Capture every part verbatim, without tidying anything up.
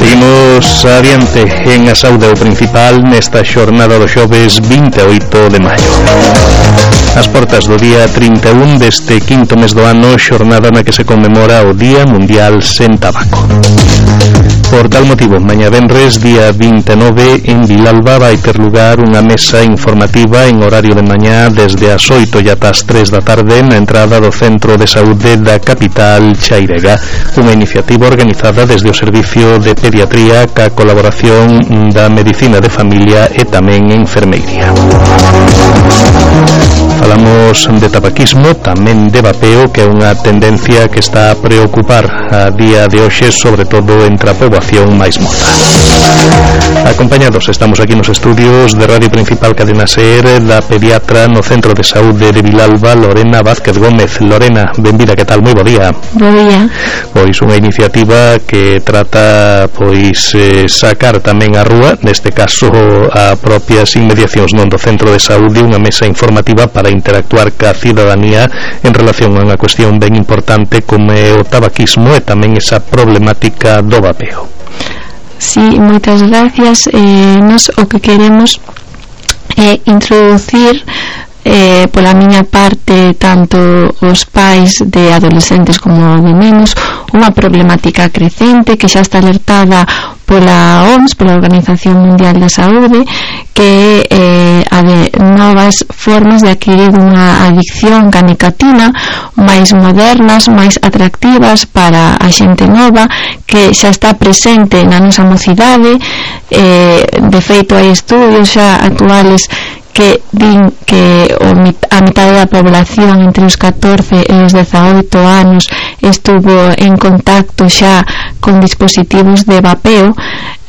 Seguimos adiante en a saúde o principal nesta xornada do xoves vinte e oito de maio. As portas do día trinta e un deste quinto mes do ano, xornada na que se conmemora o Día Mundial Sen Tabaco. Por tal motivo, mañá venres, día vinte e nove, en Vilalba vai ter lugar unha mesa informativa en horario de mañá desde as oito e ata as tres da tarde na entrada do Centro de Saúde da capital chairega, unha iniciativa organizada desde o Servicio de Pediatría ca colaboración da Medicina de Familia e tamén enfermeiría. Falamos de tabaquismo, tamén de vapeo, que é unha tendencia que está a preocupar a día de hoxe, sobre todo entre a poboación máis mota. Acompañados estamos aquí nos estudios de Radio Principal Cadena Ser da pediatra no Centro de Saúde de Vilalba, Lorena Vázquez Gómez. Lorena, benvida, que tal? Moi bo día. Bo día. Pois unha iniciativa que trata pois eh, sacar tamén a rúa, neste caso a propias inmediacións non do Centro de Saúde, unha mesa informativa para interactuar ca cidadanía en relación a unha cuestión ben importante como é o tabaquismo e tamén esa problemática do vapeo. Sí, moitas gracias. Eh, nos o que queremos é introducir eh, pola miña parte tanto os pais de adolescentes como de nenos unha problemática crecente que xa está alertada pola O M S, pola Organización Mundial da Saúde, que é eh, a de novas formas de adquirir unha adicción ca nicotina máis modernas, máis atractivas para a xente nova, que xa está presente na nosa mocidade. Eh, de feito hai estudios xa actuales que din que o, a metade da población entre os catorce e os dezaoito anos estuvo en contacto xa con dispositivos de vapeo,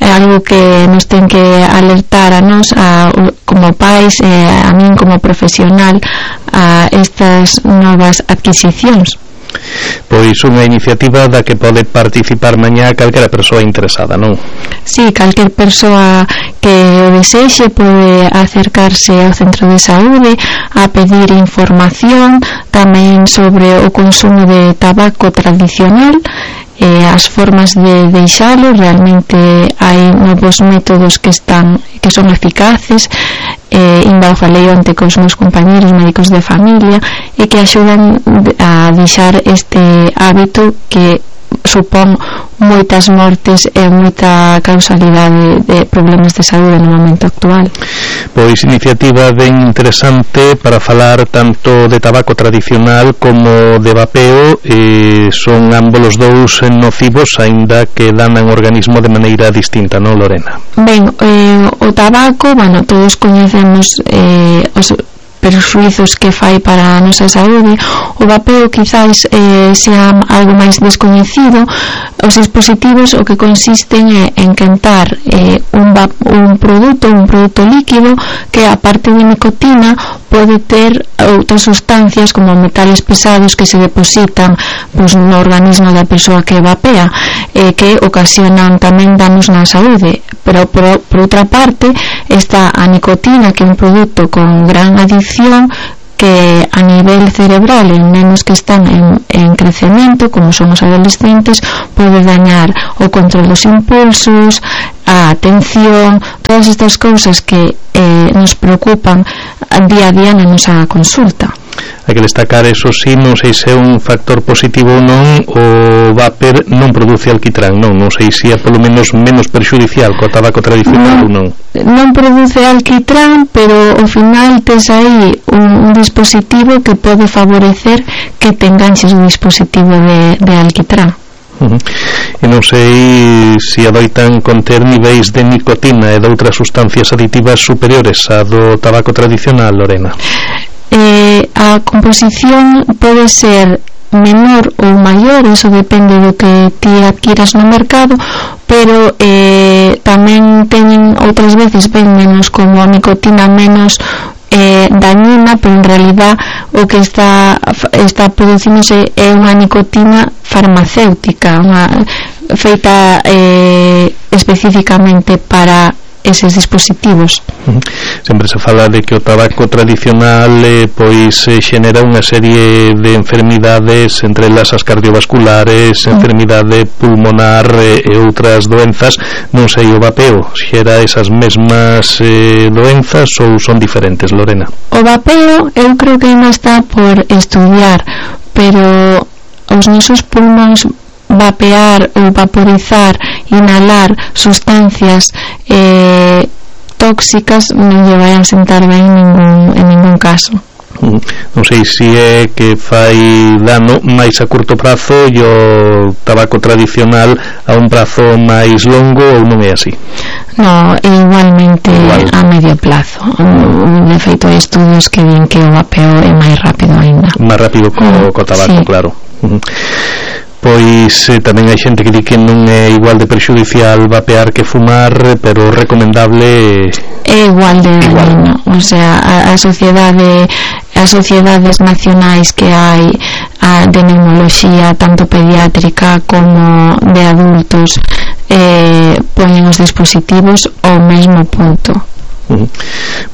é algo que nos ten que alertar a nós a, como pais e a min como profesional a estas novas adquisicións. Pois unha iniciativa da que pode participar mañá calquera persoa interesada, non? Sí, calquer persoa que o desexe pode acercarse ao Centro de Saúde a pedir información tamén sobre o consumo de tabaco tradicional, eh, as formas de deixalo. Realmente hai novos métodos que están que son eficaces. Eh, inda o falei onte cos meus compañeros médicos de familia e que axudan a deixar este hábito que supón moitas mortes e moita causalidade de problemas de saúde no momento actual. Pois iniciativa ben interesante para falar tanto de tabaco tradicional como de vapeo. Eh, son ambos os dous nocivos, aínda que danan o organismo de maneira distinta, non, Lorena? Ben, eh, o tabaco, bueno, todos coñecemos eh, os perxuizos que fai para a nosa saúde. O vapeo quizás eh, sea algo máis descoñecido. Os dispositivos o que consisten é en quentar eh, un, un produto, un produto líquido que aparte de nicotina pode ter outras sustancias como metales pesados que se depositan pues, no organismo da persoa que vapea, eh, que ocasionan tamén danos na saúde. Pero por, por outra parte está a nicotina, que é un produto con gran adicción, que a nivel cerebral en nenos que están en, en crecemento, como son os adolescentes, pode dañar o control dos impulsos, a atención, todas estas cousas que eh, nos preocupan día a día na nosa consulta. Hai que destacar, eso sí, non sei se é un factor positivo ou non, o vapor non produce alquitrán, non, non sei se é polo menos menos perxudicial co tabaco tradicional ou non. Non produce alquitrán, pero ao final tes aí un, un dispositivo que pode favorecer que te enganches o dispositivo de, de alquitrán. Uh-huh. E non sei se adoitan conter niveis de nicotina e de outras sustancias aditivas superiores a do tabaco tradicional, Lorena. Eh, a composición pode ser menor ou maior, eso depende do que ti adquiras no mercado, pero eh, tamén teñen outras veces ben menos, como a nicotina menos eh, dañina, pero en realidad o que está está producíndose é unha nicotina farmacéutica, unha feita eh, especificamente para eses dispositivos. Sempre se fala de que o tabaco tradicional eh, pois eh, xenera unha serie de enfermidades, entre elas as cardiovasculares, mm. enfermidade pulmonar eh, e outras doenzas. Non sei, o vapeo xera esas mesmas eh, doenzas ou son diferentes, Lorena? O vapeo eu creo que ainda está por estudiar, pero os nosos pulmóns vapear ou vaporizar, inhalar sustancias eh, tóxicas non lle vai a sentar ben en ningún, en ningún caso. Non sei se é que fai dano máis a curto prazo e o tabaco tradicional a un prazo máis longo, ou non é así? No, igualmente Igual. a medio plazo. De feito, hai estudios que din que o vapeo é máis rápido ainda. Máis rápido co, mm, co tabaco, sí. Claro. Pois eh, tamén hai xente que di que non é igual de perxudicial vapear que fumar, pero recomendable é igual de dañino. O sea, a, a sociedade as sociedades nacionais que hai a, de neumoloxía, tanto pediátrica como de adultos, eh, poñen os dispositivos ao mesmo punto. Uh-huh.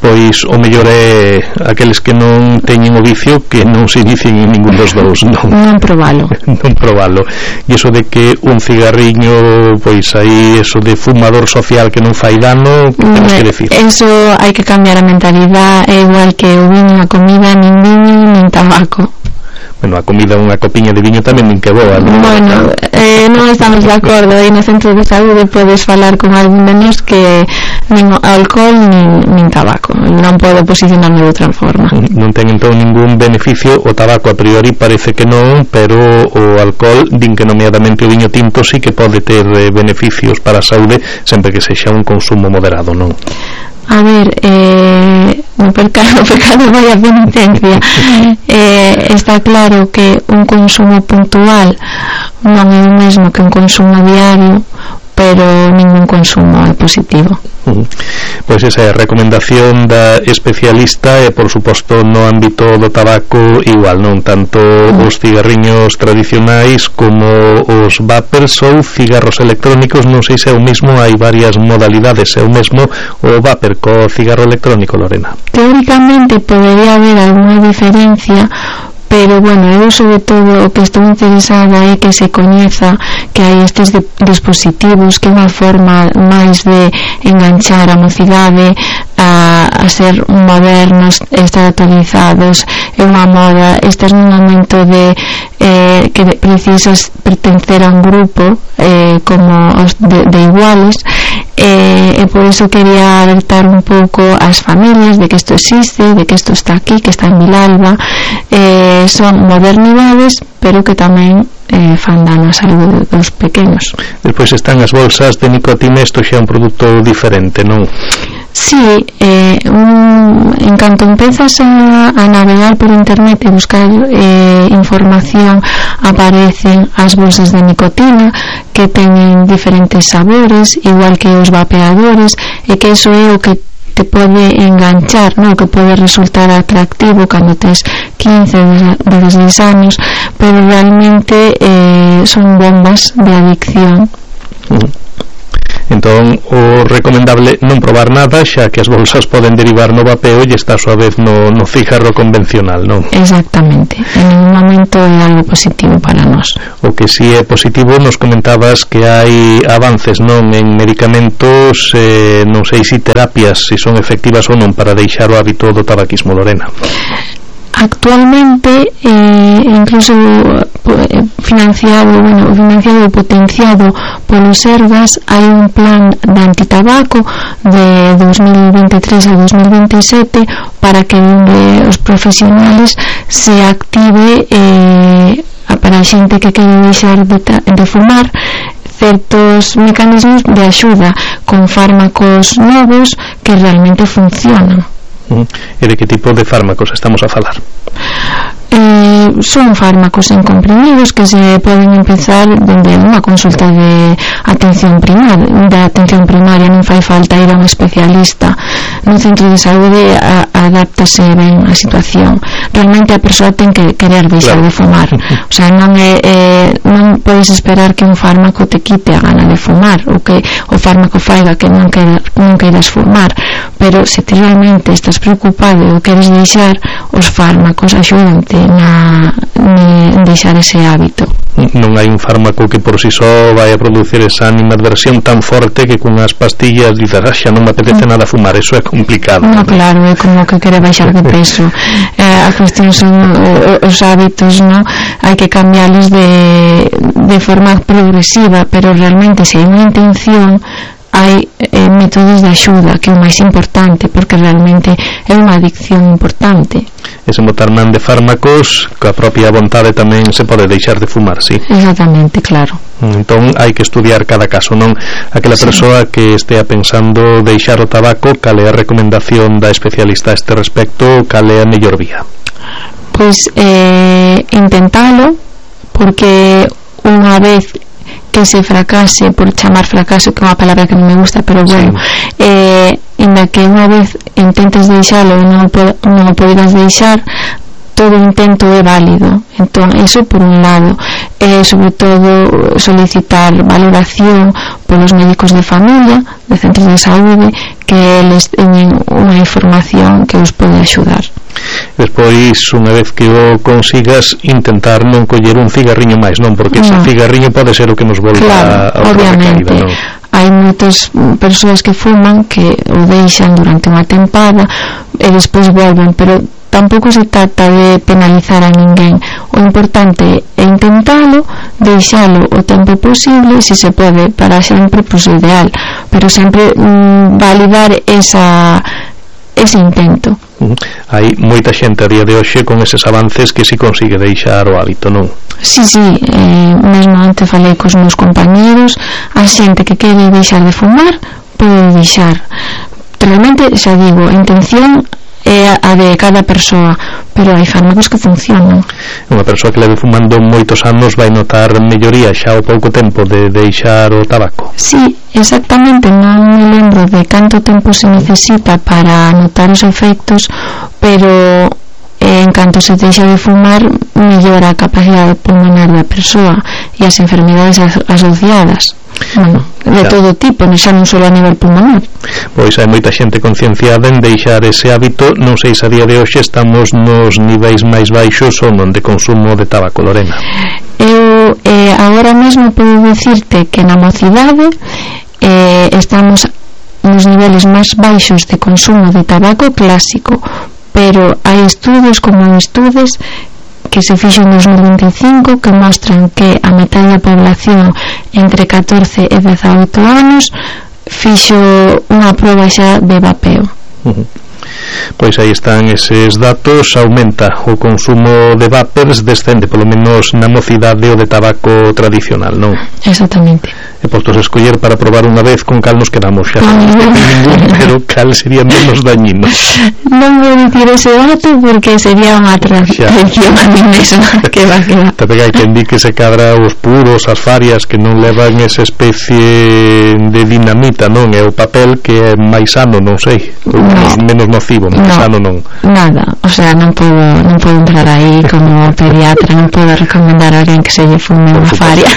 Pois o mellor é aqueles que non teñen o vicio que non se inicien en ningún dos dous, non, non probalo non probalo. E iso de que un cigarriño, pois aí eso de fumador social que non fai dano, que temos que decir? Eso hai que cambiar a mentalidade. É igual que o viño, a comida, nin viño nin tabaco. Bueno, a comida, unha copiña de viño tamén nin que boa, non? Bueno, eh, non estamos de acordo. E no centro de saúde podes falar con algún de nós que nin alcohol nin, nin tabaco. Non podo posicionarme de outra forma. Non ten entón ningún beneficio o tabaco, a priori parece que non, pero o alcohol din que nomeadamente o viño tinto sí que pode ter eh, beneficios para a saúde, sempre que sexa un consumo moderado, non? A ver, eh, no pecado, pecado vai a penitencia. eh, está claro que un consumo puntual non é o mesmo que un consumo diario, pero ningún consumo é positivo. Uh-huh. Pois esa é a recomendación da especialista, e por suposto no ámbito do tabaco igual, non tanto uh-huh. os cigarriños tradicionais como os vapers ou cigarros electrónicos. Non sei se é o mesmo, hai varias modalidades. É o mesmo o vapor co cigarro electrónico, Lorena? Teóricamente podería haber alguna diferencia, pero bueno, eu sobre todo o que estou interesada é que se coñeza que hai estes dispositivos, que é unha forma máis de enganchar a mocidade a, a ser modernos, estar actualizados. É unha moda, estás nun momento de eh, que precisas pertencer a un grupo eh, como os de, de iguales, eh, e por iso quería alertar un pouco ás familias de que isto existe, de que isto está aquí, que está en Vilalba. eh, son modernidades, pero que tamén eh, fan dano a saúde dos pequenos. Despois están as bolsas de nicotina. Isto xa é un produto diferente, non? Sí, eh, un, en canto empezas a, a navegar por internet e buscar eh, información, aparecen as bolsas de nicotina que teñen diferentes sabores, igual que os vapeadores, e que eso é o que te pode enganchar, ¿no? Que pode resultar atractivo cando tes quince, dezasseis anos, pero realmente eh, son bombas de adicción. Uh-huh. Entón, o recomendable non probar nada, xa que as bolsas poden derivar no vapeo e está a súa vez no, no cigarro convencional, non? Exactamente, en un momento é algo positivo para nós. O que si é positivo, nos comentabas que hai avances, non, en medicamentos, eh, non sei se terapias, se son efectivas ou non para deixar o hábito do tabaquismo, Lorena. Actualmente eh, incluso eh, financiado, bueno, financiado e potenciado polo Sergas, hai un plan de antitabaco de dos mil veintitrés a dos mil veintisiete para que eh, os profesionales se active eh, para a xente que quere deixar de, de fumar, certos mecanismos de axuda con fármacos novos que realmente funcionan. E de que tipo de fármacos estamos a falar? Eh, son fármacos en comprimidos que se poden empezar dende unha consulta de atención primaria, de atención primaria, non fai falta ir a un especialista. no centro de saúde a, adáptase ben a situación. Realmente a persoa ten que querer deixar claro. de fumar, o sea, non é, eh, non podes esperar que un fármaco te quite a gana de fumar, ou que o fármaco faiga que non, queira, non queiras fumar, pero se ti realmente estás preocupado ou queres deixar, os fármacos axudante na, en deixar ese hábito. Non hai un fármaco que por si só vai a producir esa animadversión tan forte que cunhas pastillas dices, ah, xa non me apetece nada fumar, eso é complicado. No, claro, é como que quere baixar de peso. eh, a cuestión son eh, os hábitos, no? Hai que cambiarlos de, de forma progresiva, pero realmente se hai unha intención hai eh, métodos de axuda, que é o máis importante, porque realmente é unha adicción importante. Ese botar man de fármacos, coa propia vontade tamén se pode deixar de fumar, sí? Exactamente, claro. Entón hai que estudiar cada caso, non? Aquela sí. persoa que estea pensando deixar o tabaco, cal é a recomendación da especialista a este respecto, cal é a mellor vía? Pois eh, intentalo, porque unha vez que se fracase, por chamar fracaso, que é unha palabra que non me gusta, pero bueno, sí. eh, inda que unha vez intentes deixalo e non, non o podes deixar, todo intento é válido. Entón, eso por un lado, eh, sobre todo solicitar valoración polos médicos de familia, de centros de saúde, que eles teñen unha información que os pode axudar. Despois, unha vez que o consigas, intentar non coller un cigarriño máis, non? Porque no. ese cigarriño pode ser o que nos volva claro, a obviamente caída, non? Hai moitas persoas que fuman que o deixan durante unha tempada e despois volven, pero tampouco se trata de penalizar a ninguén. O importante é intentalo, deixalo o tempo posible, se se pode, para sempre, pois pues, ideal, pero sempre mm, validar esa ese intento. Uh-huh. Hai moita xente a día de hoxe con eses avances que si consigue deixar o hábito, non? Sí, sí, eh, mesmo antes falei cos meus compañeros, a xente que quere deixar de fumar pode deixar. Realmente, xa digo, a intención é a de cada persoa, pero hai fármacos que funcionan. Unha persoa que leve fumando moitos anos vai notar melloría xa ao pouco tempo de deixar o tabaco. Sí, exactamente, non me lembro de canto tempo se necesita para notar os efectos, pero en canto se deixa de fumar mellora a capacidade pulmonar da persoa e as enfermedades asociadas. Bueno, de xa. todo tipo, xa non só a nivel pulmonar. Pois hai moita xente concienciada en deixar ese hábito. Non sei se a día de hoxe estamos nos niveis máis baixos ou non de consumo de tabaco, Lorena. Eu eh, agora mesmo podo dicirte que na mocidade eh, estamos nos niveles máis baixos de consumo de tabaco clásico, pero hai estudos como estudos que se fixo en dos mil vinte e cinco que mostran que a metade da población entre catorce e dezaoito anos fixo unha proba xa de vapeo. Uh-huh. Pois aí están eses datos. Aumenta o consumo de vapers, descende polo menos na mocidade o de tabaco tradicional, non? Exactamente. E postos a escoller para probar unha vez, con cal nos quedamos xa? Ningún, pero cal sería menos dañino? Non vou dicir ese dato porque sería unha traición a mí mesma. Que va, que va. Te pega quen di que se cadra os puros, as farias, que non levan esa especie de dinamita, non? É o papel que é máis sano, non sei, ou menos, no. menos nocivo, máis no, sano non. Nada, o sea, non podo, non podo entrar aí como pediatra, non podo recomendar a alguén que se lle fume unha faria.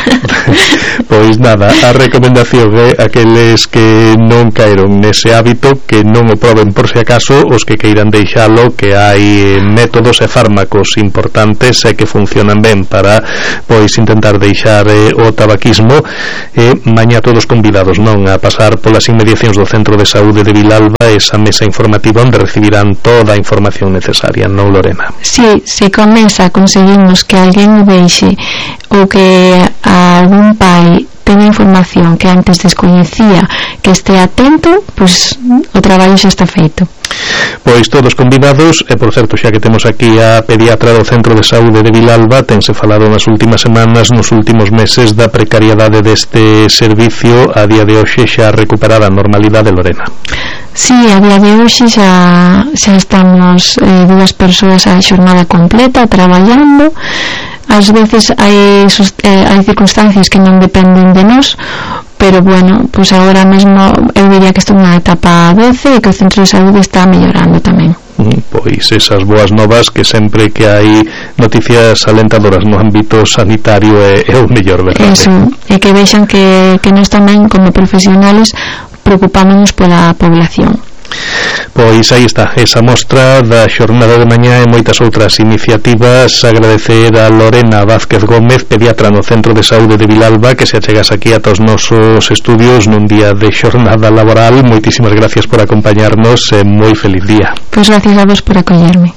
Pois nada, a recomendación é aqueles que non caeron nese hábito que non o proben por si acaso, os que queiran deixalo, que hai métodos e fármacos importantes e que funcionan ben para pois intentar deixar eh, o tabaquismo. E mañá todos convidados, non, a pasar polas inmediacións do Centro de Saúde de Vilalba, esa mesa informativa onde recibirán toda a información necesaria, non, Lorena? Si, sí, se comeza, conseguimos que alguén o deixe ou que algún pai teña información que antes descoñecía, que este atento, pois o traballo xa está feito. Pois todos convidados. E por certo, xa que temos aquí a pediatra do Centro de Saúde de Vilalba, tense falado nas últimas semanas, nos últimos meses, da precariedade deste servicio. A día de hoxe xa recuperada a normalidade, Lorena? Sí, a día de hoxe xa, xa estamos eh, dúas persoas a xornada completa traballando. Ás veces hai, eh, hai circunstancias que non dependen de nós, pero bueno, pois agora mesmo eu diría que estou na etapa doce e que o centro de saúde está mellorando tamén. Pois esas boas novas que sempre que hai noticias alentadoras no ámbito sanitario é, é o mellor, verdade? Eso, e que vexan que, que nós tamén como profesionales preocupámonos pola población. Pois aí está, esa mostra da xornada de mañá e moitas outras iniciativas. Agradecer a Lorena Vázquez Gómez, pediatra no Centro de Saúde de Vilalba, que se achegas aquí a todos os nosos estudios nun día de xornada laboral. Moitísimas gracias por acompañarnos e moi feliz día. Pois gracias a vos por acollerme.